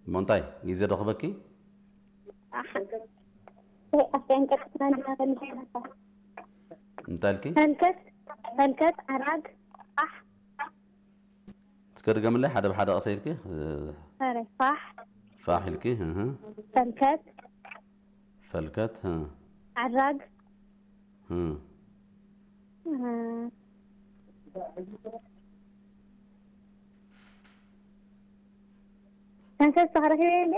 እሞ እንታይ ግዜ ዶ ክበኪ? ኣፍንቀጥና እንታይ ኢልኪ? ፈልከት ፈልከት ዓራግ ፋሕ እስከ ድገምለይ ሓደ ብሓደ ቀሰ ኢልኪ። ኧረ ፋሕ ፋሕ ኢልኪ እህ። ፈልከት ፈልከት እህ። ዓራግ እህ። እ፣ ሰንሰስ ተኽረኺበ እንዴ?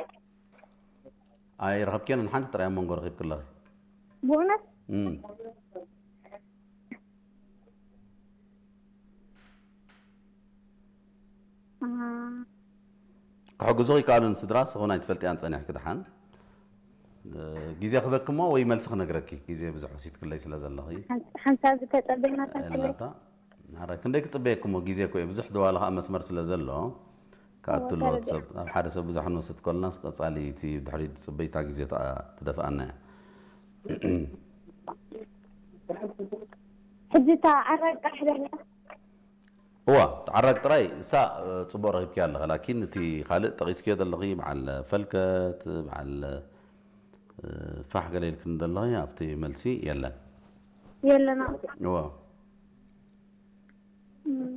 ኣይረኸብክዮን ሓንቲ ጥራይ ኣብ መንጎ ረኺብኪ ኣለኺ። ብእውነት እም። እ፣ ክሕግዙ ይከኣሉን ስድራ ስኹን ኣይትፈልጥያን ጸኒሕኪ ድሓን እ፣ ግዜ ክበኪ እሞ ወይ መልሲ ክነግረኪ ግዜ ብዙሕ ወሲድክለይ ስለ ዘለኺ ሓንሳብ ዝተጸበይና ኤልናታ። ኧረ ክንደይ ክጽበየኪ እሞ ግዜ እኮ እዩ ብዙሕ ደዋሊ ከዓ መስመር ስለ ዘሎ ክኣቱ ኣለዎ ሰብ ኣብ ሓደ ሰብ ብዙሕ ክንወስድ ከለና ቀጻሊ እቲ ድሕሪ ጽበይታ ግዜ ትኣ- ትደፍኣና እያ። ሕጂ እታ ዓራግ ጥራሕ ደላ እዋ ዓራግ ጥራይ እሳ እ፣ ጽቡቕ ረኺብኪ ኣለኺ ላኪን እቲ ካልእ ጠቒስክዮ ዘለኺ በዓል ፈልከት በዓል እ፣ ፋሕ ገለ ኢልክን ዘለኺ ኣብቲ መልሲ የለን የለና እዋ እም።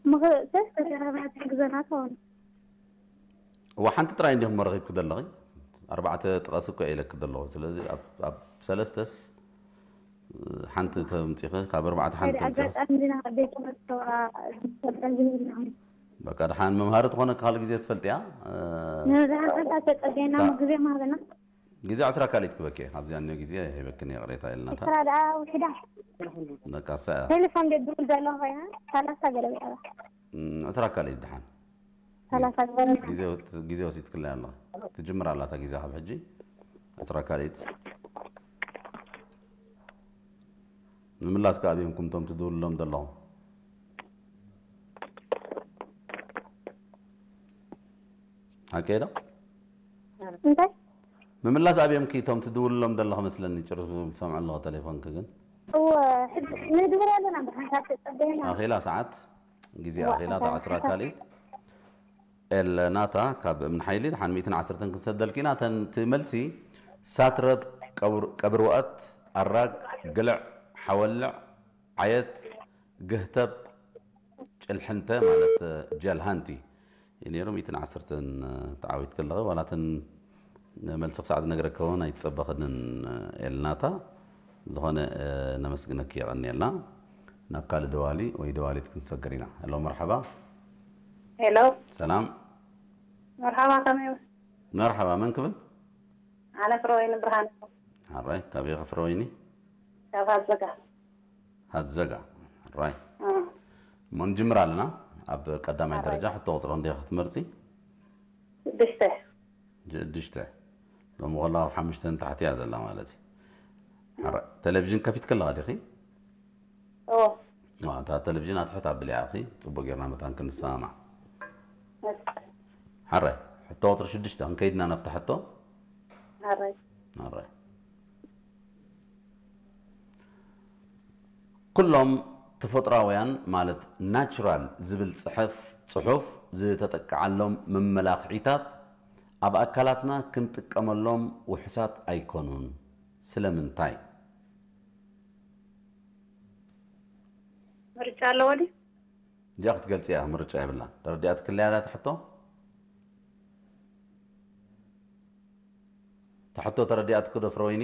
ምኽእሰስ ተዘራርባ ትሕግዘና ትኸውን እዋ ሓንቲ ጥራይ እንዲኹም ረኺብኪ ዘለኺ ኣርባዕተ ጥቐስ እኮ ኢለኪ ዘለኹ ስለዚ ኣብ- ኣብ ሰለስተስ እ፣ ሓንቲ ተምፂኺ ካብ ኣርባዕተ ሓንቲ ሓደ ተምፂኺ ኣጋጣሚ ና ቤት ትምህርቲ ተወራ ዝፈልጠ ዝህብና በቃ ድሓን መምሃሪ ትኾነ ካልእ ግዜ ትፈልጥያ እ፣ ንብዛሓት ሓንታ ተፀገና ታ- ግዜ ማህበና ግዜ ዕስራ ካልኢት ክበኪ ኣብዚኣ እኒኦ ግዜ ሂበክን ይቕሬታ ኢልናታ ስራ ደኣ ውሕዳ በቃ እሳ እያ ቴሌፎን ቤት ድውል ዘሎ ኮይና ሰላሳ ገለ ብያባ እም፣ ዕስራ ካልኢት ድሓን ሰላሳ ዝበለ ግዜ ወስ- ግዜ ወሲድክለይ ኣለኺ ትጅምር ኣላታ ግዜ ካብ ሕጂ ዕስራ ካልኢት ምምላስ ከኣ ኣብዮም ኩምቶም ትድውልሎም ዘለኹም ሓቀይ ዶ እንታይ ምምላስ ኣብዮም ኪ እቶም ትድውልሎም ዘለኹ መስለኒ ጭሩ ዝሰምዑ ኣለኹ ቴሌፎንኪ ግን እወ ሕጂ ንድውል ኣለና ብሓንሳብ ተፀበየና ኣኺላ ሰዓት ግዜ እዋ፣ ኣኺላ እታ እታ ዕስራ ዕስራ ካልኢት ኤለናታ ካብ እምኒ ሓይሊ ድሓን ሚእትን ዓሰርተን ክንሰደልኪ ኢና እተን እቲ መልሲ ሳትረብ ቀብር- ቀብርወአት ኣራግ ግልዕ ሓወልዕ ዓየት ግህተብ ጭልሕንተ ማለት ጀልሃንቲ እዩ ነይሩ ሚእትን ዓሰርተን ተዓዊት ከለኸ ዋላትን መልሲ ክሳዕ ዝነግረከ እውን ኣይትጸበኽንን ኤልናታ ዝኾነ ነመስግነኪ የቐንየልና ናብ ካልእ ደዋሊ ወይ ደዋሊት ክንሰገር ኢና ሄሎ መርሓባ ሄሎ ሰላም መርሓባ ከመይ መርሓባ መን ክብል ኣነ ፍረወይኒ ብርሃን ሓራይ ካበይ ኢኻ ፍረወይኒ ካብ ሃዘጋ ሃዘጋ ራይ እሞ ንጅምር ኣለና ኣብ ቀዳማይ ደረጃ ሕቶ ቁፅሪ ክንደይ ክትመርፂ ሽዱሽተ ሽዱሽተ ሎሚ ከላ ኣብ ሓሙሽተ ንታሕቲ እያ ዘላ ማለት እዩ ሓራይ ቴሌቪዥን ከፊት ከለኻ ዲኺ እዎ እታ ቴሌቪዥን ኣትሕት ኣብልያ ኢኺ ፅቡቅ ጌርና መታን ክንሰማማዕ ሓራይ ሕቶ ቁፅሪ ሽዱሽተ ክንከይድና ናብቲ ሕቶ ሓራይ ኣራይ ኩሎም ተፈጥራውያን ማለት ናቹራል ዝብል ፅሐፍ ፅሑፍ ዝተጠቅዓሎም መመላኽዒታት ኣብ ኣካላትና ክንጥቀመሎም ውሑሳት ኣይኮኑን ስለምንታይ ምርጫ ኣለዎ ድዩ እዚኣ ክትገልፂ እያ ምርጫ የብላ ተረዲኣትክለያ ዳ ትሕቶ ትሕቶ ተረዲኣትክ ዶ ፍረወይኒ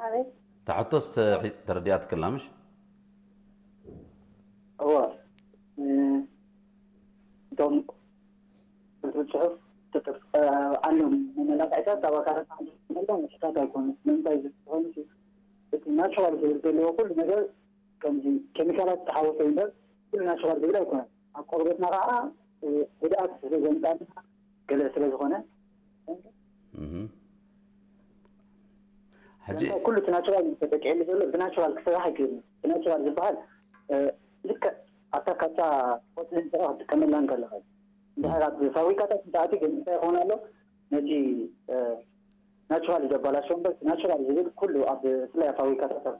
ኣቤት ትሕቶስ ተረዲኣትክላ ምሽ እወ እቶም ጽሑፍ ተጠፍኣሎም መመላክዕታት ኣብ ኣካላት መላ ምሽታት ኣይኮኑ ንምንታይ ዝኮኑ እቲ ናቹራል ዝብል ዘለዎ ኩሉ ነገር ከምዚ ኬሚካላት ዝተሓወሰ እምበር ኩሉ ናቹራል ዝብል ኣይኮነን ኣብ ቆርበትና ከዓ ጉድኣት ስለ ዘምፃልና ገለ ስለ ዝኾነ ሕጂ ኩሉ እቲ ናቹራል ተጠቂዕሉ ዘሎ ብናቹራል ክስራሕ ኣይክእልን ብናቹራል ዝበሃል ልክዕ ኣብታ ካብታ ቆፅሊ ንስኻ ክትጥቀመላ እንከለኻ እንድሕር ኣብ ፋብሪካታት እንተኣትዩ ግን እንታይ ይኸውን ኣሎ ነቲ ናቹራል ዘባላሸው እምበር ናቹራል ዝብል ኩሉ ኣብ ብፍላይ ኣብ ፋብሪካታት ኣብ